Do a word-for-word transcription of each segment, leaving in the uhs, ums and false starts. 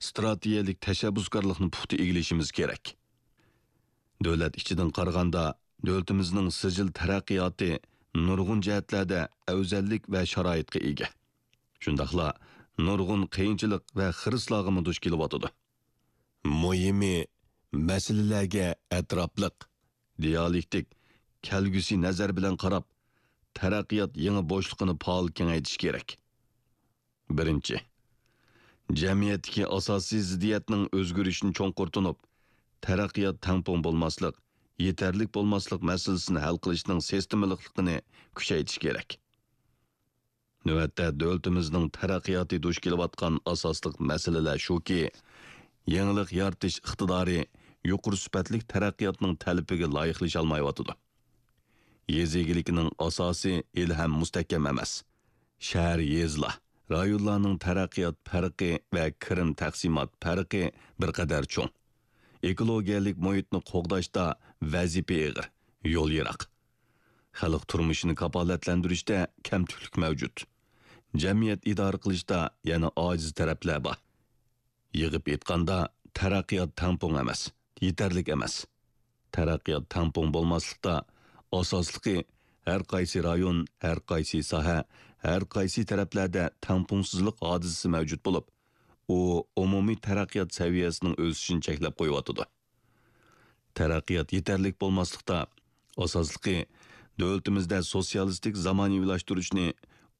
ئىستراتېگىيەلىك تەشەببۇسكارلىقنى پۇختا ئىگىلىشىمىز كېرەك. دۆلەت ئىچىدىن قارىغاندا، دۆلىتىمىزنىڭ سىجىل تەرەققىياتى نۇرغۇن جەھەتلەردە ئەۋزەللىك ۋە شارائىتقا ئىگە. شۇنداقلا نۇرغۇن قىيىنچىلىق ۋە خىرىسلارغىمۇ دۇچ كېلىۋاتىدۇ. مۇھىمى، مەسىلىلەرگە ئەتراپلىق، دىيالېكتىك، كەلگۈسى نەزەر بىلەن قاراپ، تەرەققىيات يېڭى بوشلۇقىنى پائال كېڭەيتىش كېرەك. بىرىنچى، جەمئىيەتتىكى ئاساسىي زىددىيەتنىڭ ئۆزگىرىشىنى چوڭقۇر تونۇپ، تەرەققىيات تەڭپۇڭ بولماسلىق، يېتەرلىك بولماسلىق مەسىلىسىنى ھەل قىلىشنىڭ سىستېمىلىقلىقىنى كۈچەيتىش كېرەك. نۆۋەتتە دۆلىتىمىزنىڭ تەرەققىياتى دۇچ كېلىۋاتقان ئاساسلىق مەسىلىلەر شۇكى، يېڭىلىق يارىتىش ئىقتىدارى يۇقىرى سۈپەتلىك تەرەققىياتنىڭ تەلىپىگە لايىقلىشالمايۋاتىدۇ. يېزا ئىگىلىكىنىڭ ئاساسى ھېلىھەم مۇستەھكەم ئەمەس. شەھەر، يېزىلار، رايونلارنىڭ تەرەققىيات پەرقى ۋە كىرىم تەقسىمات پەرقى بىر قەدەر چوڭ. ئېكولوگىيەلىك مۇھىتنى قوغداشتا ۋەزىپە ئېغىر، يول يىراق. خەلق تۇرمۇشىنى كاپالەتلەندۈرۈشتە كەمتۈكلۈك مەۋجۇت. جەمئىيەت ئىدارە قىلىشتا يەنە ئاجىز تەرەپلەر بار. يىغىپ ئېيتقاندا، تەرەققىيات تەڭپۇڭ ئەمەس، يېتەرلىك ئەمەس. تەرەققىيات تەڭپۇڭ بولماسلىقتا، ئاساسلىقى، ھەر قايسى رايون، ھەر قايسى ساھە، ھەر قايسى تەرەپلەردە تەڭپۇڭسىزلىق ھادىسىسى مەۋجۇت بولۇپ، ئۇ ئومۇمىي تەرەققىيات سەۋىيەسىنىڭ ئۆسۈشىنى چەكلەپ قويۇۋاتىدۇ. تەرەققىيات يېتەرلىك بولماسلىقتا، ئاساسلىقى، دۆلىتىمىزدە سوتسىيالىستىك زامانىۋىلاشتۇرۇشنى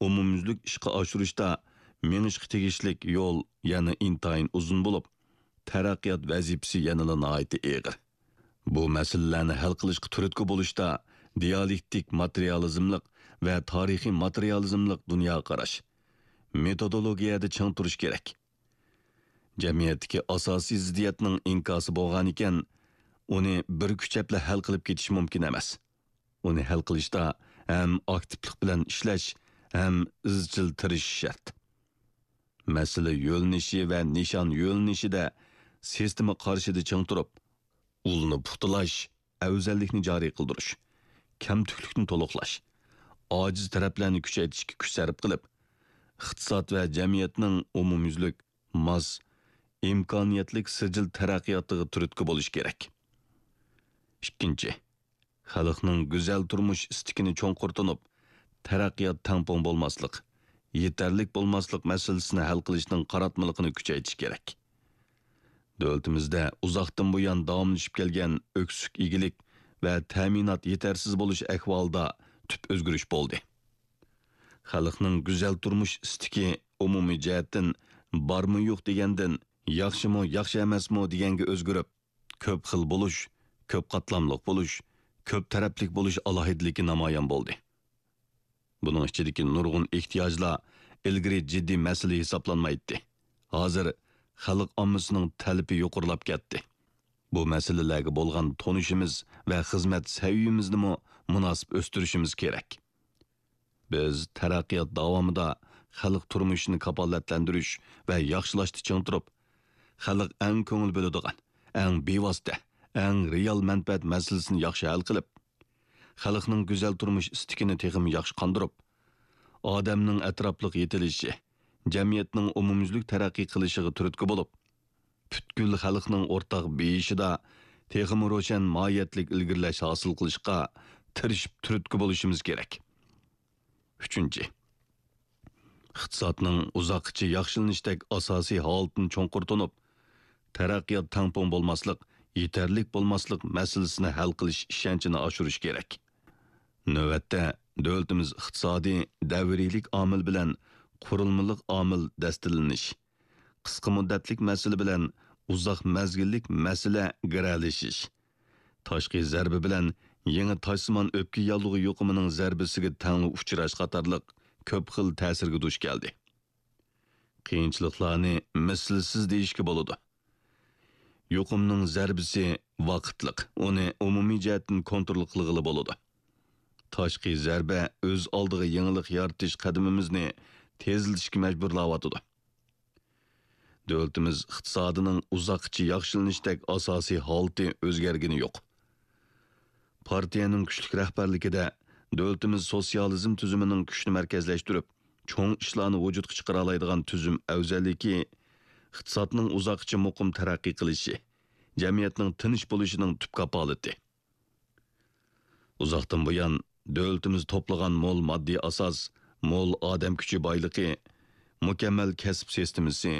ئومۇميۈزلۈك ئىشقا ئاشۇرۇشتا مېڭىشقا تېگىشلىك يول يەنە ئىنتايىن ئۇزۇن بولۇپ، تەرەققىيات ۋەزىپىسى يەنىلا ناھايىتى ئېغىر. بۇ مەسىلىلەرنى ھەل قىلىشقا تۈرتكە بولۇشتا دىيالېكتىك ماتېرىيالىزملىق ۋە تارىخىي ماتېرىيالىزملىق دۇنيا قاراش، مېتودولوگىيەدە چىڭ تۇرۇش كېرەك. جەمئىيەتتىكى ئاساسىي زىددىيەتنىڭ ئىنكاسى بولغانىكەن، ئۇنى بىر كۈچەپلا ھەل قىلىپ كېتىش مۇمكىن ئەمەس. ئۇنى ھەل قىلىشتا ھەم ئاكتىپلىق بىلەن ئىشلەش، ھەم ئىزچىل تىرىشىش شەرت. مەسىلە يۆنىلىشى ۋە نىشان يۆنىلىشىدە سىستېما قارىشىدا چىڭ تۇرۇپ، ئۇلنى پۇختىلاش، ئەۋزەللىكنى جارى قىلدۇرۇش، كەمتۈكلۈكنى تولۇقلاش، ئاجىز تەرەپلەرنى كۈچەيتىشكە كۈچ سەرپ قىلىپ، ئىقتىساد ۋە جەمئىيەتنىڭ ئومۇميۈزلۈك، ماس، ئىمكانىيەتلىك سىجىل تەرەققىياتىغا تۈرتكە بولۇش كېرەك. ئىككىنچى، خەلقنىڭ گۈزەل تۇرمۇش ئىستىكىنى چوڭقۇر تونۇپ، تەرەققىيات تەڭپۇڭ بولماسلىق، يېتەرلىك بولماسلىق مەسىلىسىنى ھەل قىلىشنىڭ قاراتمىلىقىنى كۈچەيتىش كېرەك. دۆلىتىمىزدە ئۇزاقتىن بۇيان داۋاملىشىپ كەلگەن ئۆكسۈك ئىگىلىك ۋە تەمىنات يېتەرسىز بولۇش ئەھۋالىدا تۈپ ئۆزگىرىش بولدى. خەلقنىڭ گۈزەل تۇرمۇش ئىستىكى ئومۇمىي جەھەتتىن بارمۇ يوق دېگەندىن، ياخشىمۇ، ياخشى ئەمەسمۇ دېگەنگە ئۆزگىرىپ، كۆپ خىل بولۇش، كۆپ قاتلاملىق بولۇش، كۆپ تەرەپلىك بولۇش ئالاھىدىلىكى نامايان بولدى. بۇنىڭ ئىچىدىكى نۇرغۇن ئېھتىياجلار ئىلگىرى جىددىي مەسىلە ھېسابلانمايتتى. ھازىر خەلق ئاممىسىنىڭ تەلىپى يۇقىرىلاپ كەتتى. بۇ مەسىلىلەرگە بولغان تونۇشىمىز ۋە خىزمەت سەۋىيىمىزنىمۇ مۇناسىپ ئۆستۈرۈشىمىز كېرەك. بىز تەرەققىيات داۋامىدا خەلق تۇرمۇشىنى كاپالەتلەندۈرۈش ۋە ياخشىلاشتا چىڭ تۇرۇپ، خەلق ئەڭ كۆڭۈل بۆلىدىغان، ئەڭ بىۋاسىتە، ئەڭ رېئال مەنپەئەت مەسىلىسىنى ياخشى ھەل قىلىپ، خەلقنىڭ گۈزەل تۇرمۇش ئىستىكىنى تېخىمۇ ياخشى قاندۇرۇپ، ئادەمنىڭ ئەتراپلىق يېتىلىشى، جەمئىيەتنىڭ ئومۇميۈزلۈك تەرەققىي قىلىشىغا تۈرتكە بولۇپ، پۈتكۈل خەلقنىڭ ئورتاق بېيىشىدا تېخىمۇ روشەن ماھىيەتلىك ئىلگىرىلەش ھاسىل قىلىشقا تىرىشىپ تۈرتكە بولۇشىمىز كېرەك. ئۈچىنچى، ئىقتىسادنىڭ ئۇزاققىچە ياخشىلىنىشتەك ئاساسىي ھالىتىنى چوڭقۇر تونۇپ، تەرەققىيات تەڭپۇڭ بولماسلىق، يېتەرلىك بولماسلىق مەسىلىسىنى ھەل قىلىش ئىشەنچىنى ئاشۇرۇش كېرەك. نۆۋەتتە، دۆلىتىمىز ئىقتىسادىي دەۋرىيلىك ئامىل بىلەن قۇرۇلمىلىق ئامىل دەستىلىنىش، قىسقا مۇددەتلىك مەسىلە بىلەن ئۇزاق مەزگىللىك مەسىلە گىرەلىشىش، تاشقى زەربە بىلەن يېڭى تاشسىمان ئۆپكە ياللۇغى يۇقۇمىنىڭ زەربىسىگە تەڭلا ئۇچراش قاتارلىق كۆپ خىل تەسىرگە دۇچ كەلدى. قىيىنچىلىقلارنى مىسلىسىز دېيىشكە بولىدۇ. يۇقۇمنىڭ زەربىسى ۋاقىتلىق، ئۇنى ئومۇمىي جەھەتتىن كونترول قىلغىلى بولىدۇ. تاشقى زەربە ئۆز ئالدىغا يېڭىلىق يارىتىش قەدىمىمىزنى تېزلىتىشكە مەجبۇرلاۋاتىدۇ. دۆلىتىمىز ئىقتىسادىنىڭ ئۇزاققىچە ياخشىلىنىشتەك ئاساسىي ھالىتى ئۆزگەرگىنى يوق. پارتىيەنىڭ كۈچلۈك رەھبەرلىكىدە دۆلىتىمىز سوتسىيالىزم تۈزۈمىنىڭ كۈچنى مەركەزلەشتۈرۈپ، چوڭ ئىشلارنى ۋۇجۇدقا چىقىرالايدىغان تۈزۈم ئەۋزەللىكى ئىقتىسادنىڭ ئۇزاققىچە مۇقىم تەرەققىي قىلىشى، جەمئىيەتنىڭ تىنچ بولۇشىنىڭ تۈپ كاپالىتى. ئۇزاقتىن بۇيان، دۆلىتىمىز توپلىغان مول ماددىي ئاساس، مول ئادەم كۈچى بايلىقى، مۇكەممەل كەسىپ سىستېمىسى،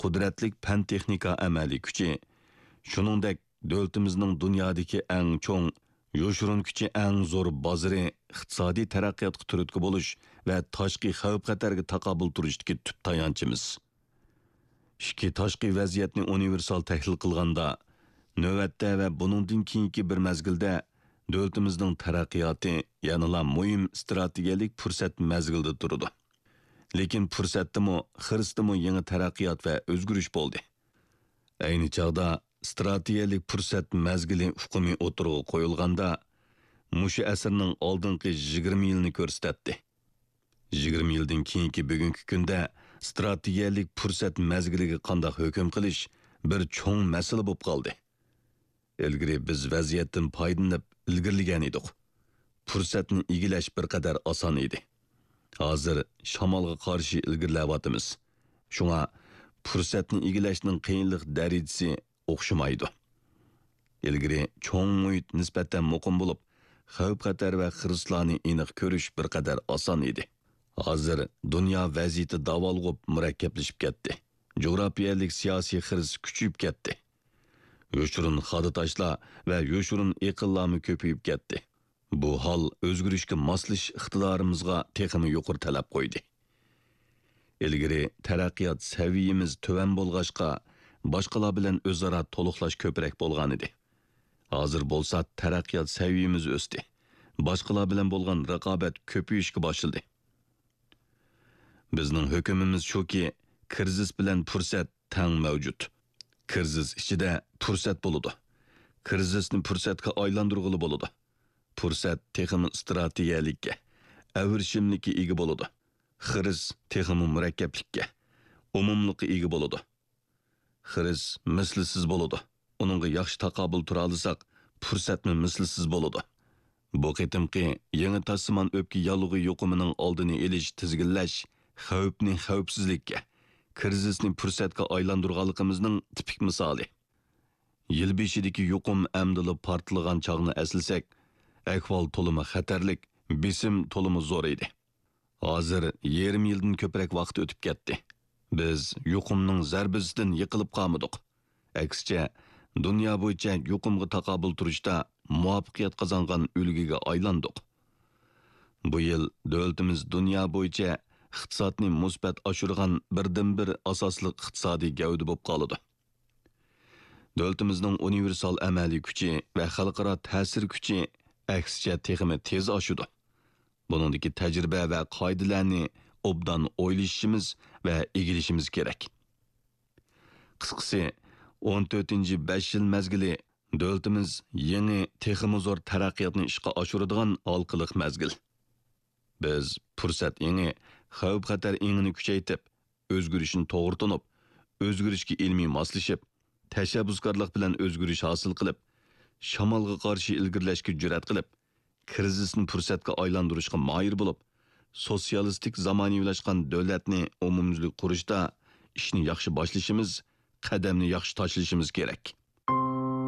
قۇدرەتلىك پەن-تېخنىكا ئەمەلىي كۈچى، شۇنىڭدەك دۆلىتىمىزنىڭ دۇنيادىكى ئەڭ چوڭ، يوشۇرۇن كۈچى ئەڭ زور بازىرى ئىقتىسادىي تەرەققىياتقا تۈرتكە بولۇش ۋە تاشقى خەۋپ-خەتەرگە تاقابىل تۇرۇشتىكى تۈپ تايانچىمىز. ئىچكى تاشقى ۋەزىيەتنى ئۇنىۋېرسال تەھلىل قىلغاندا، نۆۋەتتە ۋە بۇنىڭدىن كېيىنكى بىر مەزگىلدە دۆلىتىمىزنىڭ تەرەققىياتى يەنىلا مۇھىم ئىستراتېگىيەلىك پۇرسەت مەزگىلىدە تۇرىدۇ. لېكىن پۇرسەتتىمۇ، خىرىستىمۇ يېڭى تەرەققىيات ۋە ئۆزگىرىش بولدى. ئەينى چاغدا ئىستراتېگىيەلىك پۇرسەت مەزگىلى ئۇقۇمى ئوتتۇرىغا قويۇلغاندا، مۇشۇ ئەسىرنىڭ ئالدىنقى يىگىرمە يىلىنى كۆرسىتەتتى. يىگىرمە يىلدىن كېيىنكى بۈگۈنكى كۈندە ئىستراتېگىيەلىك پۇرسەت مەزگىلىگە قانداق ھۆكۈم قىلىش بىر چوڭ مەسىلە بولۇپ قالدى. ئىلگىرى بىز ۋەزىيەتتىن پايدىلىنىپ ئىلگىرىلىگەن ئىدۇق. پۇرسەتنى ئىگىلەش بىر قەدەر ئاسان ئىدى. ھازىر شامالغا قارشى ئىلگىرىلەۋاتىمىز. شۇڭا پۇرسەتنى ئىگىلەشنىڭ قىيىنلىق دەرىجىسى ئوخشىمايدۇ. ئىلگىرى چوڭ مۇھىت نىسبەتەن مۇقىم بولۇپ، خەۋپ-خەتەر ۋە خىرىسلارنى ئېنىق كۆرۈش بىر قەدەر ئاسان ئىدى. ھازىر دۇنيا ۋەزىيىتى داۋالغۇپ مۇرەككەپلىشىپ كەتتى. جۇغراپىيەلىك سىياسىي خىرىس كۈچىيىپ كەتتى. يوشۇرۇن خادا تاشلار ۋە يوشۇرۇن ئېقىنلارمۇ كۆپىيىپ كەتتى. بۇ ھال ئۆزگىرىشكە ماسلىشىش ئىقتىدارىمىزغا تېخىمۇ يۇقىرى تەلەپ قويدى. ئىلگىرى تەرەققىيات سەۋىيىمىز تۆۋەن بولغاچقا، باشقىلار بىلەن ئۆزئارا تولۇقلاش كۆپرەك بولغانىدى. ھازىر بولسا تەرەققىيات سەۋىيىمىز ئۆستى. باشقىلار بىلەن بولغان رىقابەت كۆپىيىشكە باشلىدى. بىزنىڭ ھۆكۈمىمىز شۇكى، كىرىزىس بىلەن پۇرسەت تەڭ مەۋجۇت. كىرىزىس ئىچىدە پۇرسەت بولىدۇ. كىرىزىسنى پۇرسەتكە ئايلاندۇرغىلى بولىدۇ. پۇرسەت تېخىمۇ ئىستراتېگىيەلىككە، ئەۋرىشىملىككە ئىگە بولىدۇ. خىرىس تېخىمۇ مۇرەككەپلىككە، ئومۇملۇققا ئىگە بولىدۇ. خىرىس مىسلىسىز بولىدۇ. ئۇنىڭغا ياخشى تاقابىل تۇرالىساق، پۇرسەتمۇ مىسلىسىز بولىدۇ. بۇ قېتىمقى يېڭى تاشسىمان ئۆپكە ياللۇغى يۇقۇمىنىڭ ئالدىنى ئېلىش، تىزگىنلەش، خەۋپنى خەۋپسىزلىككە، كىرىزىسنى پۇرسەتكە ئايلاندۇرغانلىقىمىزنىڭ تىپىك مىسالى. يىل بېشىدىكى يۇقۇم ئەمدىلا پارتلىغان چاغنى ئەسلىسەك، ئەھۋال تولىمۇ خەتەرلىك، بېسىم تولىمۇ زور ئىدى. ھازىر يېرىم يىلدىن كۆپرەك ۋاقىت ئۆتۈپ كەتتى. بىز يۇقۇمنىڭ زەربىسىدىن يىقىلىپ قالمىدۇق. ئەكسىچە، دۇنيا بويىچە يۇقۇمغا تاقابىل تۇرۇشتا مۇۋەپپەقىيەت قازانغان ئۈلگىگە ئايلاندۇق. بۇ يىل دۆلىتىمىز دۇنيا بويىچە ئىقتىسادنى مۇسبەت ئاشۇرغان بىردىنبىر ئاساسلىق ئىقتىسادىي گەۋدە بولۇپ قالىدۇ. دۆلىتىمىزنىڭ ئۇنىۋېرسال ئەمەلىي كۈچى ۋە خەلقئارا تەسىر كۈچى ئەكسىچە تېخىمۇ تېز ئاشىدۇ. بۇنىڭدىكى تەجرىبە ۋە قائىدىلەرنى ئوبدان ئويلىشىشىمىز ۋە ئىگىلىشىمىز كېرەك. قىسقىسى، ئون تۆتىنچى بەش يىل مەزگىلى دۆلىتىمىز يېڭى، تېخىمۇ زور تەرەققىياتنى ئىشقا ئاشۇرىدىغان ھالقىلىق مەزگىل. بىز پۇرسەت ئېڭى، خەۋپ-خەتەر ئېڭىنى كۈچەيتىپ، ئۆزگىرىشنى توغرا تونۇپ، ئۆزگىرىشكە ئىلمىي ماسلىشىپ، تەشەببۇسكارلىق بىلەن ئۆزگىرىش ھاسىل قىلىپ، شامالغا قارشى ئىلگىرىلەشكە جۈرئەت قىلىپ، كىرىزىسنى پۇرسەتكە ئايلاندۇرۇشقا ماھىر بولۇپ، سوتسىيالىستىك زامانىۋىلاشقان دۆلەتنى ئومۇميۈزلۈك قۇرۇشتا ئىشنى ياخشى باشلىشىمىز، قەدەمنى ياخشى تاشلىشىمىز كېرەك.